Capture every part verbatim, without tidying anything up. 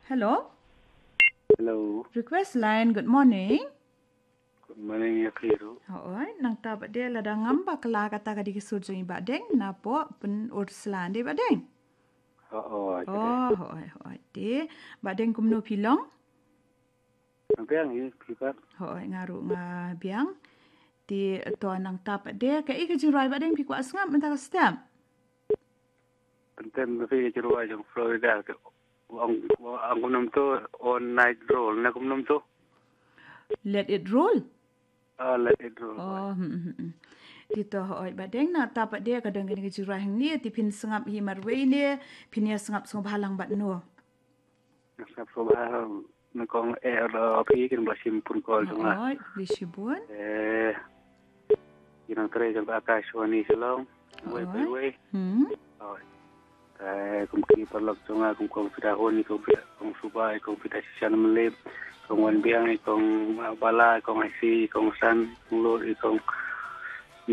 Hello. Hello. Request line, good morning. Good morning ïa phi ruh. Hooid, nangta pat de lada ngam bakla kata ka dei ka sur jong i Bah Deng, napoh Pynursla, dei Bah Deng? Hooid. Oh, hooid, hooid. Te Bah Deng, kumno phi long? Biang hi phi pat? Hooid, nga ruh nga biang. Te to nangta pat de, kaei ka jingrwai Bah Deng phi kwah sngap mynta ka step? Pyntem na phi ka jingrwai jong Florida, te ong, ong kumno to, All Night Roll, ne kumno to? Let It Roll. Ah, Let It Roll. Oh, hmm, hmm, hmm. Te to hooid Bah Deng, nangta pat de ka don kane ka jingrwai hangne, te phin sngap hi marwei ne phin ïa sngap sngewbha lang bad no? Nga sngap sngewbha na kong eh da phi, kin ba shim phone call jong nga. Hooid, khublei shibun. Eh, ki nongtrei jong ka Akashvani Shillong. Wei, wei, wei. Hmm. Hooid. Te kum ki paralok jong nga, kum kong Fida Hun, kong Fida, kong Suba, kong Fida Shishan Mlip, kong Wan Biang, kong Bala, kong Aisi, kong San, kong Lut, kong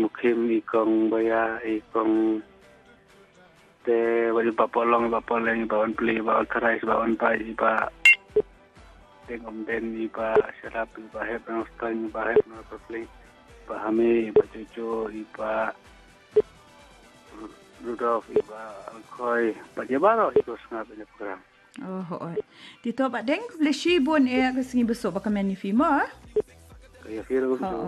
Mukhim, kong Baya, kong te, wa i Bah Polong, i Bah Poleng, i Bah Wan Pli, i Bah Wan Tharai, i Bah Wan Pai, i Bah Deng Om Den, i Bah Sharap, i Bah Hep Nong Stang, i Bah Hep Nong Pli, i Bah Hami, i Bah Jojo, i Bah Rudolf, i Bah Alkoi, bad ïa baroh i ko sngap ïa program. Oh, hooid. Te to Bah Deng, khublei shibun eh, ka sngi ba suk ba kmen ïa phi mo. Ka ïa phi ruh.